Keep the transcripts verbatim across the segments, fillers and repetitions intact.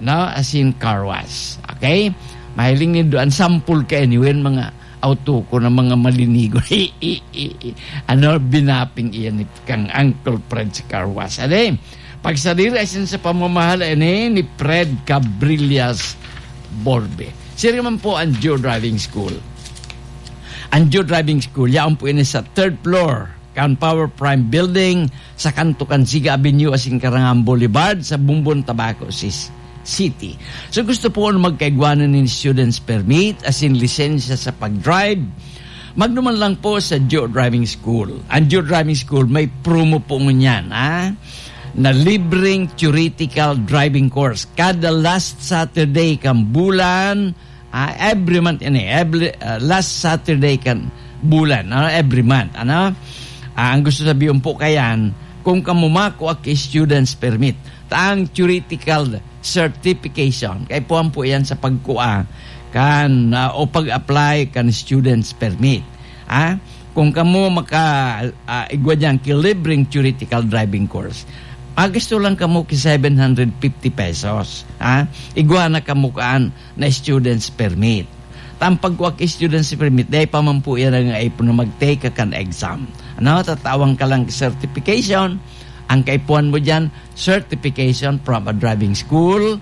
no? Asin car wash. Okay? Mahiling nindo an sample ka anyway, mga auto ko na mga malinigon. Ano, binaping iyan ni kang Uncle Fred sa car wash. Ade, pagsadiri asin sa pamamahala ini ni Fred Cabrillas Borbe. Siring man po ang Geo Driving School. Ang Geo Driving School, yaon po ini sa third floor kan Power Prime Building, sa kanto kan Siga Avenue asin Karangan Boulevard, sa Bumbon, Tabaco Sis-, City. So, gusto po na magkaigwanan nin student's permit asin lisensya sa pag-drive, magduman lang po sa Geo Driving School. Ang Geo Driving School, may promo po ngunyan, ha? Na libreng theoretical driving course. Kada last Saturday kan bulan, ah, every month ini, every, ah, last Saturday kan bulan, ano, every month, ano? Ah, ang gusto sabihin po kayan, kung kamo makua ki student's permit, ta ang theoretical certification, kaipuhan po yan sa pagkua kan, ah, o pag-apply kan student's permit. Ah, kung kamo maka, ah, igwa diyan ki libreng theoretical driving course, magasto lang kamo ki seven hundred fifty pesos. Ah, igwa na kamo kaan na student's permit. Ta ang pagkua ki student's permit, dai pa man po yan ang aipon na mag-take ka kan exam. Ano, tatawan ka lang certification. Ang kaipuhan mo diyan, certification from a driving school.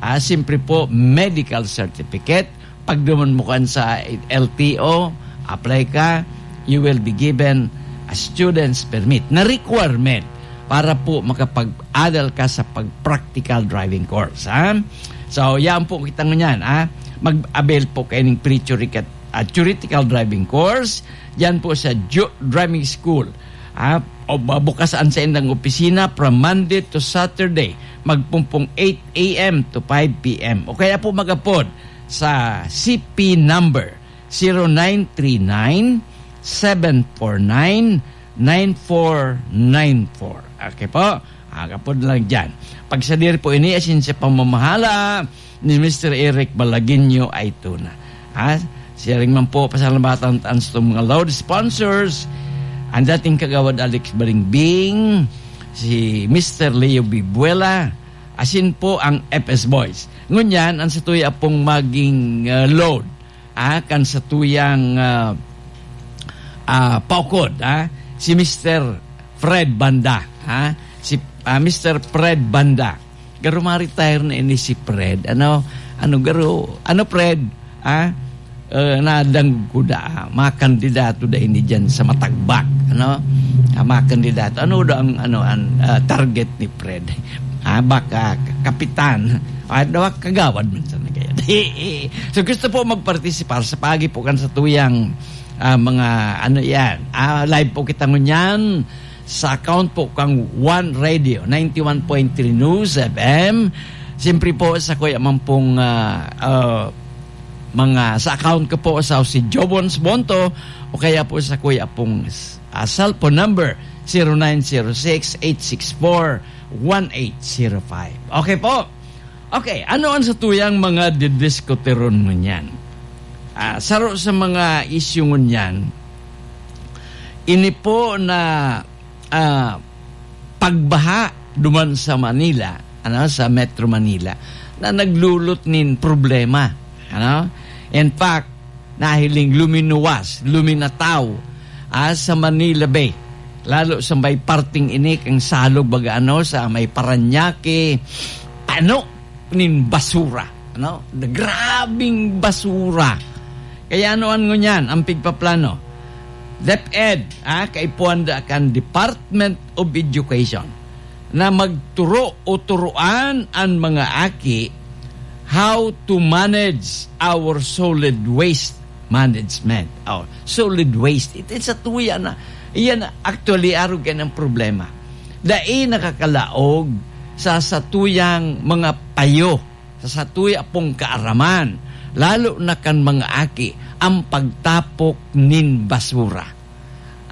Ah, siyempre po, medical certificate. Pagduman mo kan sa L T O, apply ka, you will be given a student's permit. Na requirement para po makapag-adal ka sa pag-practical driving course, ha? So, yan po kita ngunyan, ha? Mag-avail po kayo ng pre-theoretical, ah, theoretical driving course. Yan po sa Ju-, Driving School, ha? O, bukas ang sa indang opisina from Monday to Saturday. Magpumpong eight a.m. to five p.m. O kaya po mag-apod sa C P number zero nine three nine, seven four nine, nine four nine four. Okay po? Agapod lang dyan. Pagsadir po ini, asin sa pamamahala ni Mister Eric Balaguinho Aituna. Ha? Siring man po, pasalamatan an sa mga load sponsors, ang dating kagawad Alex Balingbing, si Mister Leo Bibuela, asin po ang F S Boys. Ngunyan, ang satuya pong maging, ah, load, ah, kan satuyang, ah, ah, paukod, ah, si Mister Fred Banda, ah, si, ah, Mister Fred Banda. Garo ma-retire na ini si Fred. Ano, ano garo, ano Fred, ah, eh, nadangog ko da, ah, makandidato da ini diyan sa Matagbak, ano? Ah, makandidato. Ano da ang, ano, ang, ah, target ni Fred? Ah, baka k-, kapitan. Ah, dawa kagawad man sana kaya. So, gusto po magpartisipar sa pagi po kan satuyang, ah, mga, ano yan, ah, live po kita ngunyan sa account po kang One Radio, ninety-one point three News F M. Siyempre po, sa kuya man pong, ah, ah, mga, sa account ko po sa si Jobons Bonto, o kaya po sa kuya pong, ah, cellphone number, zero nine zero six, eight six four, one eight zero five. Okay po. Okay, ano ang satuyang mga didiskuteron ngunyan? Ah, saro sa mga issue ngunyan, ini po na, ah, pagbaha duman sa Manila, ano, sa Metro Manila, na naglulot nin problema, ano? In fact, nahiling luminuwas, luminataw, ah, sa Manila Bay. Lalo sa may parting ini kang Salog, baga ano, sa may Parañaque, ano, nin basura, ano? Grabing basura. Kaya ano an ngunyan, ang pigpaplano? DepEd, ah, kaipuhan da kan Department of Education na magturo o turuan an mga aki how to manage our solid waste management. Oh, solid waste. It is a tuya na. Iyan, actually, arog yan ang problema. Dai nakakalaog sa satuyang mga payo, sa satuya pong kaaraman, lalo na kan mga aki, ang pagtapok nin basura.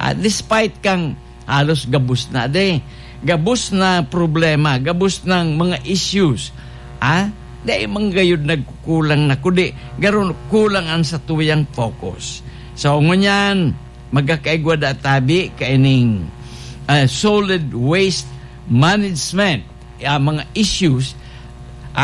Ah, despite kang halos gabos na, de, gabos na problema, gabos ng mga issues, ah, dai man gayud nagkukulang na, kundi garo kulang ang satuyang focus. So, ngunyan, magkakaigwa da tabi kaining, ah, solid waste management, ah, mga issues,